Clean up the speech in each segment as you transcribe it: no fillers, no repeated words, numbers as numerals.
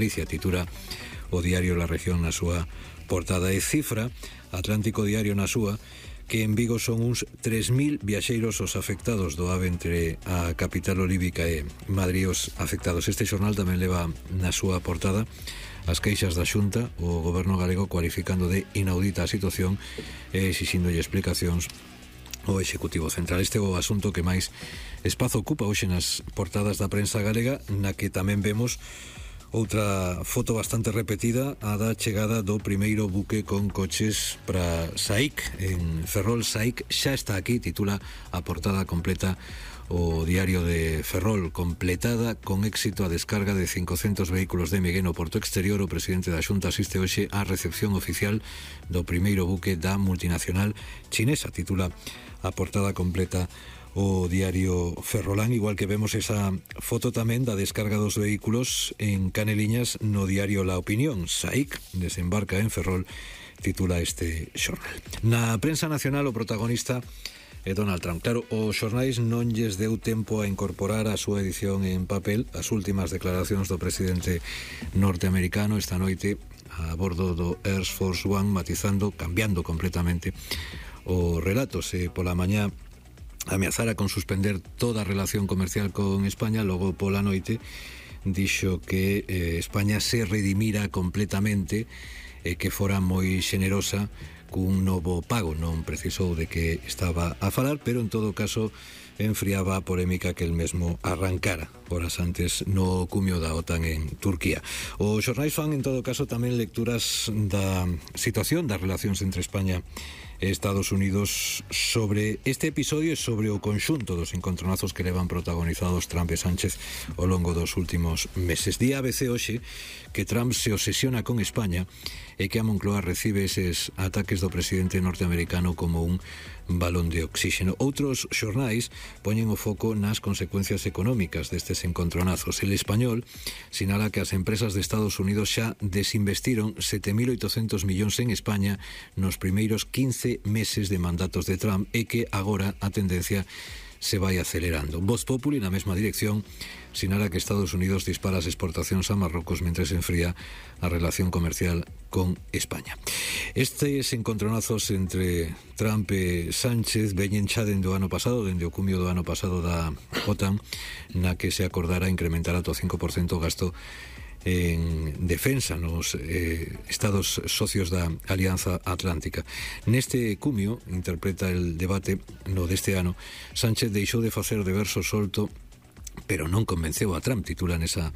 Galicia, titula o diario La Región na súa portada. E cifra Atlántico Diario na súa que en Vigo son uns 3.000 viaxeiros os afectados do AVE entre a capital olívica e Madrid os afectados. Este xornal tamén leva na súa portada as queixas da Xunta, o goberno galego cualificando de inaudita a situación e exixíndolle explicacións o Executivo Central. Este é o asunto que máis espazo ocupa hoxe nas portadas da prensa galega, na que tamén vemos outra foto bastante repetida, a da chegada do primeiro buque con coches para SAIC en Ferrol. SAIC xa está aquí, titula a portada completa o diario de Ferrol. Completada con éxito a descarga de 500 vehículos de Miguel no porto exterior. O presidente da Xunta asiste hoxe á recepción oficial do primeiro buque da multinacional chinesa, titula a portada completa o diario Ferrolán, igual que vemos esa foto tamén da descarga dos vehículos en Caneliñas no diario La Opinión. SAIC desembarca en Ferrol, titula este xornal. Na prensa nacional o protagonista é Donald Trump. Claro, os xornais non lles deu tempo a incorporar a súa edición en papel as últimas declaracións do presidente norteamericano esta noite a bordo do Air Force One, matizando, cambiando completamente o relato. Se pola mañá ameazara con suspender toda a relación comercial con España, logo pola noite dixo que España se redimira completamente e que fora moi xenerosa cun novo pago. Non precisou de que estaba a falar, pero en todo caso enfriaba a polémica que el mesmo arrancara horas antes no cumio da OTAN en Turquía. Os xornais fan en todo caso tamén lecturas da situación das relacións entre España e Estados Unidos sobre este episodio e sobre o conxunto dos encontronazos que levan protagonizados Trump e Sánchez ao longo dos últimos meses. Di ABC hoxe que Trump se obsesiona con España e que a Moncloa recibe eses ataques do presidente norteamericano como un balón de oxígeno. Outros xornais poñen o foco nas consecuencias económicas destes encontronazos. El Español sinala que as empresas de Estados Unidos xa desinvestiron 7.800 millóns en España nos primeiros 15 meses de mandatos de Trump e que agora a tendencia se vai acelerando. Voz Populi, na mesma dirección, sinala que Estados Unidos dispara as exportacións a Marrocos mentre se enfría a relación comercial con España. Estes encontronazos entre Trump e Sánchez veñen xa dende o ano pasado, dende o cumio do ano pasado da OTAN, na que se acordara incrementar ata o 5% o gasto en defensa nos estados socios da Alianza Atlántica. Neste cumio, interpreta el debate no deste ano, Sánchez deixou de facer de verso solto, pero non convenceu a Trump, titula nesa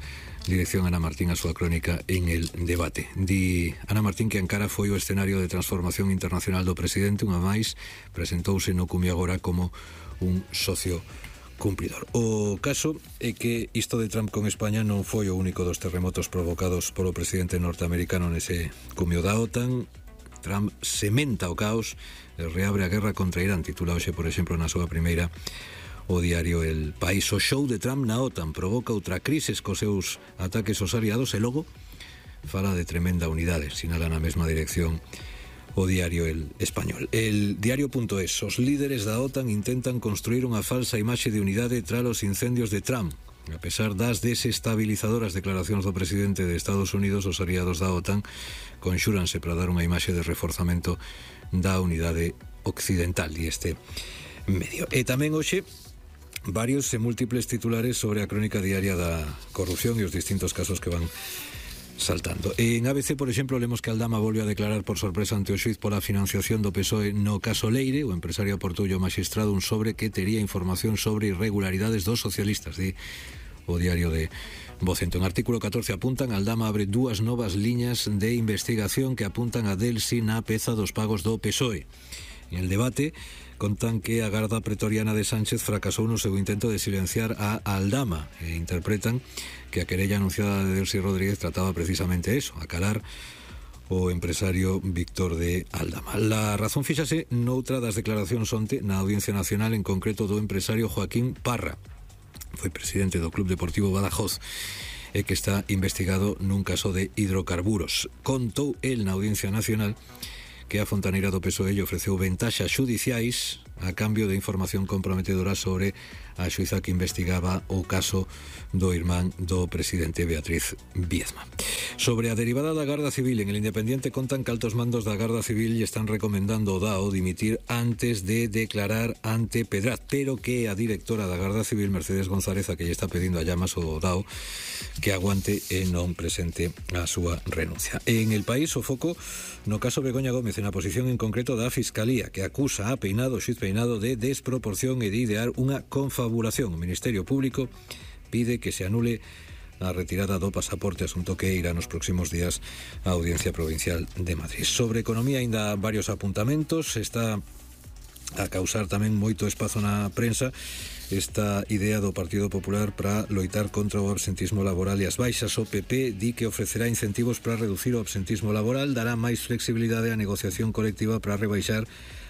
dirección Ana Martín a súa crónica en el debate. Di Ana Martín que Ankara foi o escenario de transformación internacional do presidente, unha máis presentouse no cumio agora como un socio cumpridor. O caso é que isto de Trump con España non foi o único dos terremotos provocados polo presidente norteamericano nese cumio da OTAN. Trump sementa o caos e reabre a guerra contra Irán, titula hoxe, por exemplo, na súa primeira o diario El País. O show de Trump na OTAN provoca outra crise cos seus ataques aos aliados e logo fala de tremenda unidade, sinala na mesma dirección o diario El Español. El diario.es. Os líderes da OTAN intentan construir unha falsa imaxe de unidade tras os incendios de Trump. A pesar das desestabilizadoras declaracións do presidente de Estados Unidos, os aliados da OTAN conxúranse para dar unha imaxe de reforzamento da unidade occidental e este medio. E tamén hoxe varios e múltiples titulares sobre a crónica diaria da corrupción e os distintos casos que van saltando. En ABC, por exemplo, lemos que Aldama volve a declarar por sorpresa ante o xuiz pola financiación do PSOE no caso Leire. O empresario aportoulle ao magistrado un sobre que tería información sobre irregularidades dos socialistas, di o diario de Vocento. En artículo 14 apuntan Aldama abre dúas novas liñas de investigación que apuntan a Delsi na peza dos pagos do PSOE. En el debate contan que a garda pretoriana de Sánchez fracasou no seu intento de silenciar a Aldama e interpretan que a querella anunciada de Delsi Rodríguez trataba precisamente eso, acalar o empresario Víctor de Aldama. La razón fíxase noutra das declaracións onte na Audiencia Nacional, en concreto do empresario Joaquín Parra. Foi presidente do Club Deportivo Badajoz e que está investigado nun caso de hidrocarburos. Contou el na Audiencia Nacional que a fontaneira do PSOE lle ofreceu ventaxas xudiciais a cambio de información comprometedora sobre a xuíza que investigaba o caso do irmán do presidente Beatriz Viezma. Sobre a derivada da Garda Civil, en El Independiente contan que altos mandos da Garda Civil lle están recomendando ao DAO dimitir antes de declarar ante Pedraz, pero que a directora da Garda Civil, Mercedes González, a que lle está pedindo a llamas ao DAO que aguante e non presente a súa renuncia. En El País, o foco no caso Begoña Gómez, en a posición en concreto da Fiscalía, que acusa a Peinado, xuiz Peinado, de desproporción e de idear unha confabulación. O Ministerio Público pide que se anule a retirada do pasaporte, asunto que irá nos próximos días á Audiencia Provincial de Madrid. Sobre economía, aínda varios apuntamentos. Está a causar tamén moito espazo na prensa esta idea do Partido Popular para loitar contra o absentismo laboral e as baixas. O PP di que ofrecerá incentivos para reducir o absentismo laboral, dará máis flexibilidade á negociación colectiva para rebaixar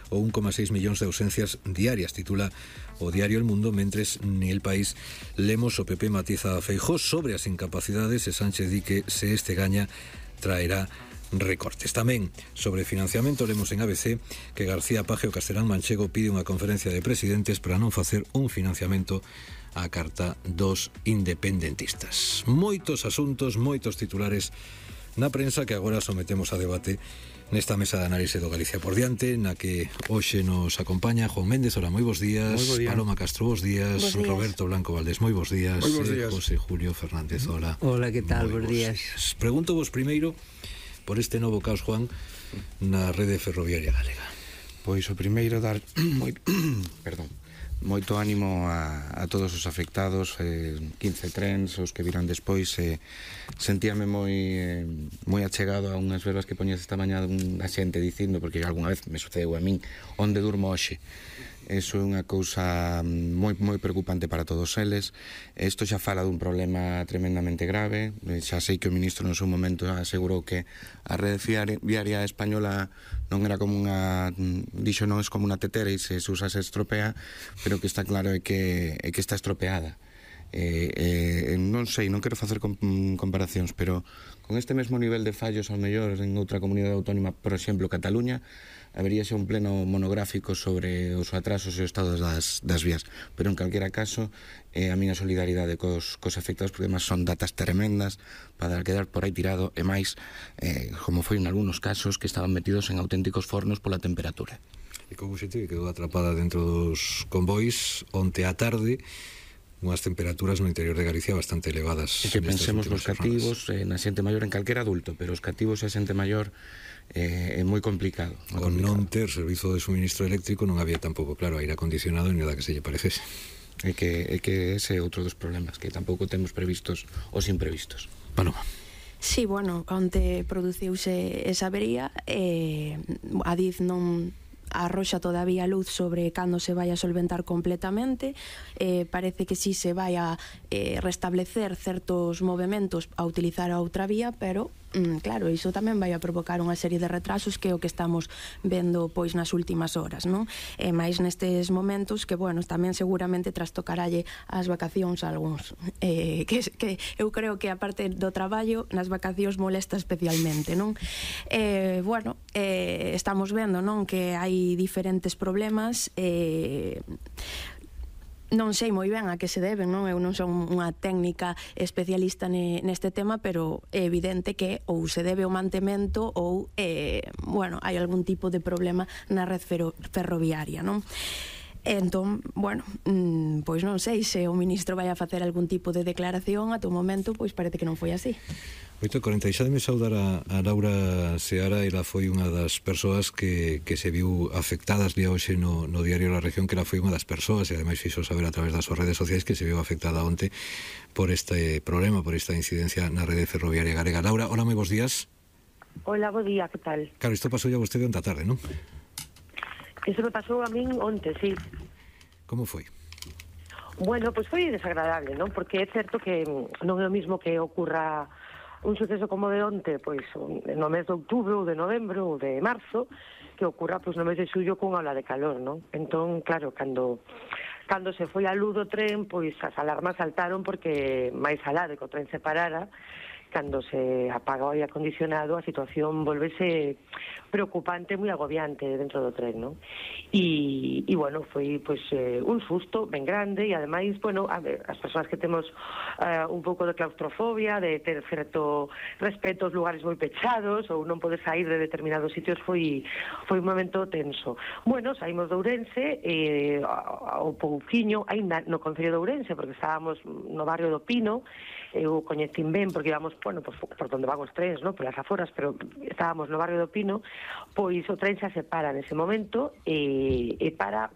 o 1,6 millóns de ausencias diarias, titula o diario El Mundo, mentres El País lemos o PP matiza a Feijóo sobre as incapacidades e Sánchez di que se este gaña traerá recortes. Tamén sobre financiamento lemos en ABC que García Paje o Castelán Manchego pide unha conferencia de presidentes para non facer un financiamento á carta dos independentistas. Moitos asuntos, moitos titulares na prensa que agora sometemos a debate nesta mesa de análise do Galicia por diante, na que hoxe nos acompaña Juan Méndez. Hola, moi bons días. Paloma Castro, bons días. Roberto Blanco Valdés, moi bons días. José Julio Fernández, hola. Hola, que tal? Bons días. Pregunto vos primeiro por este novo caos, Juan, na rede ferroviaria galega. Pois o primeiro dar moito ánimo a todos os afectados, 15 trens, os que virán despois. Sentíame moi achegado a unhas verbas que poñes esta mañá a xente dicindo, porque algunha vez me sucedeu a min, onde durmo hoxe. Eso é unha cousa moi preocupante para todos eles. Isto xa fala dun problema tremendamente grave. Xa sei que o ministro no seu momento asegurou que a rede viaria española non era como unha, dixo, non é como unha tetera e se usa se estropea, pero que está claro é que está estropeada. Non sei, non quero facer comparacións, pero con este mesmo nivel de fallos ao mellor en outra comunidade autónoma, por exemplo Cataluña, haberíase un pleno monográfico sobre os atrasos e o estado das vías, pero en calquera caso a miña solidaridade cos afectados, porque además son datas tremendas para quedar por aí tirado, e máis como foi en algúns casos que estaban metidos en auténticos fornos pola temperatura. E como xente que quedou atrapada dentro dos convois onte á tarde, unhas temperaturas no interior de Galicia bastante elevadas. E que pensemos nos cativos, na xente maior, en calquera adulto, pero os cativos e a xente maior é moi complicado. Con non ter servizo de suministro eléctrico non había tampouco, claro, aire acondicionado ni nada que se lle parecese. É que ese é outro dos problemas, que tampouco temos previstos os imprevistos. Paloma. Sí, bueno, onte produciuse esa avería, a DIF non arroxa todavía luz sobre cando se vai a solventar completamente. Parece que sí se vai a restablecer certos movementos a utilizar a outra vía, pero claro, iso tamén vai a provocar unha serie de retrasos, que é o que estamos vendo pois nas últimas horas, non? E máis nestes momentos que, bueno, tamén seguramente trastocaralle as vacacións a algúns, que eu creo que a parte do traballo nas vacacións molesta especialmente, non? Bueno, estamos vendo, non, que hai diferentes problemas, non sei moi ben a que se deben, non? Eu non son unha técnica especialista neste tema, pero é evidente que ou se debe ao mantemento ou, bueno, hai algún tipo de problema na red ferroviaria, non? Entón, bueno, pois non sei se o ministro vai a facer algún tipo de declaración. Ata o momento, pois parece que non foi así. 8:47, saudar a Laura Seara. Ela foi unha das persoas que se viu afectadas día hoxe no diario La Región, que ela foi unha das persoas, e ademais fixo saber a través das súas redes sociais que se viu afectada onte por este problema, por esta incidencia na rede ferroviaria galega. Laura, hola, moi bons días. Hola, bo día, que tal? Claro, isto pasou ya vostede onte a tarde, non? Iso me pasou a min onte, sí. Como foi? Bueno, pois foi desagradable, non? Porque é certo que non é o mismo que ocurra un suceso como de onte, pois no mes de outubro ou de novembro ou de marzo, que ocurra pois no mes de xullo cunha ola de calor, non? Entón, claro, cando se foi a luz do tren, pois as alarmas saltaron porque máis alá de que o tren se parara, cando se apaga o aire acondicionado, a situación volvese preocupante, moi agobiante dentro do tren, non? E bueno, foi pois un susto ben grande, e ademais, bueno, as persoas que temos un pouco de claustrofobia, de ter certo respeto aos lugares moi pechados ou non poder sair de determinados sitios, foi un momento tenso. Bueno, saímos de Ourense ao pouquiño, aínda no Concello de Ourense, porque estábamos no barrio do Pino. Eu coñecín ben porque íbamos, bueno, por donde van os trens, non? Por as aforas, pero estábamos no barrio do Pino. Pois o tren xa se para nese momento e para